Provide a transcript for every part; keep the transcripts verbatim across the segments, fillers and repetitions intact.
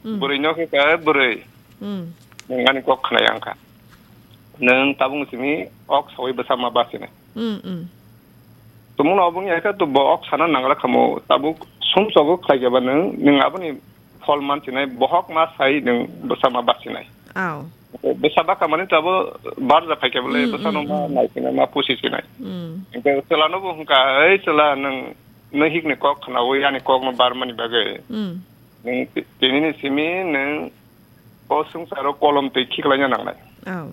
Hmm. Bwrwi no khe ka bwrwi. Hmm. Nwng ani kok khna yang kha. Nwng tabuk simi ok sawi bwsa ma basinai. Hmm, hmm. Tumung no obwng ya khe to bo ok sana nangra khamo tabuk sum sogo khlai khe ba nwng, nwng aboni phol mansinai, bohok ma sai nwng bwsa ma basinai. Aw. Bwsa baka mani to abo barja phai khe bole, hmm, bwsa no hmm, ma hmm, nai sinai, ma pusi sinai. Hmm. Hwnkhe chwla no bo hwnkha, "Ei chwla, nwng, nwng hik ni kok khnaui ani kok no bar mani bagwi. Hmm. Nwng ti-, tini ni simi nwng o swngcharo kolom twi khiklaina nangnai." Aw.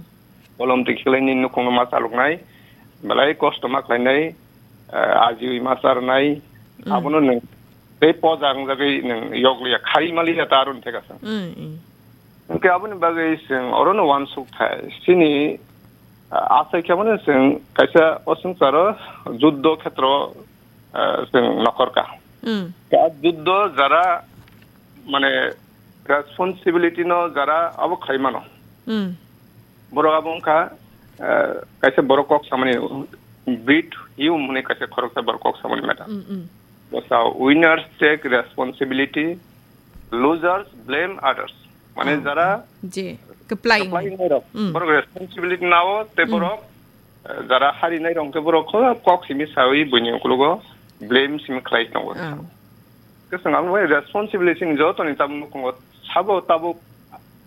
Kolom twi khiklai ni nukhung no ma chaloknai, belai kosto ma khlainai, eh, ajiwi ma charnai, hmm, abono nwng tei poja wngjagwi nwng yokliya, khari maliya ta aroni thekasang. Hmm, hmm. Hwnkhe aboni bagwi chwng orono uansuk thai. Chini, ah, achai khe mano chwng kaisa o swngcharo juddo khetro, ah, chwng nokhorka. Hmm. Khe a juddo jara, mane, responsibility no jara abo khlai mano. Hmm. Borok abo wngkha, ah, kaisa borok kok samani, Brit Hume hwnwi kaisa khoroksa borok kok samani, madam. Hmm, hmm. Bwsa, "Winners take responsibility, losers blame others." Mane, ah, jara je kwplai kwplai wngwi, wngnairok, hmm, borok responsibility nao tei, hmm, borok, eh, jara harinairok hwnkhe borok kho kok simi sawi buini ukologo blame simi khlai tongo. Ah. Khe chwng ang bai responsibility ni jotoni tabuk nukhungo sabo tabuk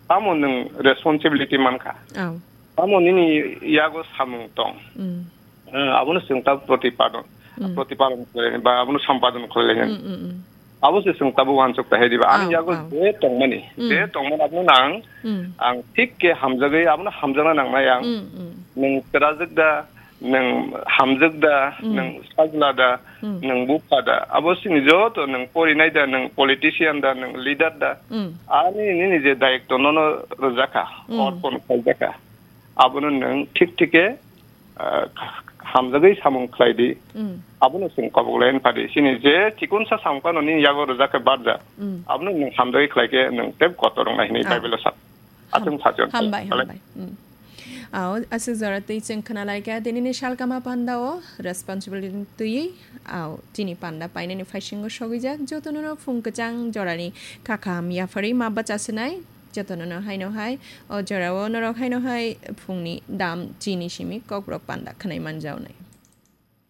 tamo nwng responsibility mankha. Ah. Tamo nini yago samung tong. Hmm. Eh, abono chwng ta protipadon, hmm, protipadon khlai ba abono sampadon khlai. Hmm, hmm, hmm. Abo se chwng tabuk uansuk ta hai diba. Ani, oh, yago, oh, je tongmani, hmm, je tongmani abono nang, hmm, ang thik khe hamjagwi abono hamjakna nangnai ang. Hmm, hmm. Nwng kwrajwk da, nwng hamjwk da, hmm, nwng sajla da, hmm, nwng bupha da. Abo sini joto nwng porinai da, nwng politician da, nwng leader da. Hmm. Ani nini je dayitto nono rwjakha, hmm, orpon khaijakha. Abono nwng thik thik khe ah, hamjagwi samung khlai di. Mm. Abono chwng kobok lai pha di. Chini je chikonsa samung phano nini yago rwjak khe barja. Mm. Abono nwng hamjagwi khlai khe nwng tei kotor wngnai hwnwi, ah, Bible-o sa. Ham-, achung phajon. Hambai, belai hambai. Mm. Ao, aswk jora twi chwng khna lai kha, dinini salkama panda-o responsibility twiwi, ao, chini panda painani phaisingo sogwijak, jotono no phung kwchang jorani kha kaham yapharwi ma bacha swnai. Jotono no haino hai, o jorao norok haino hai phungni dam chini simi kokborok panda khwnai manjaonai.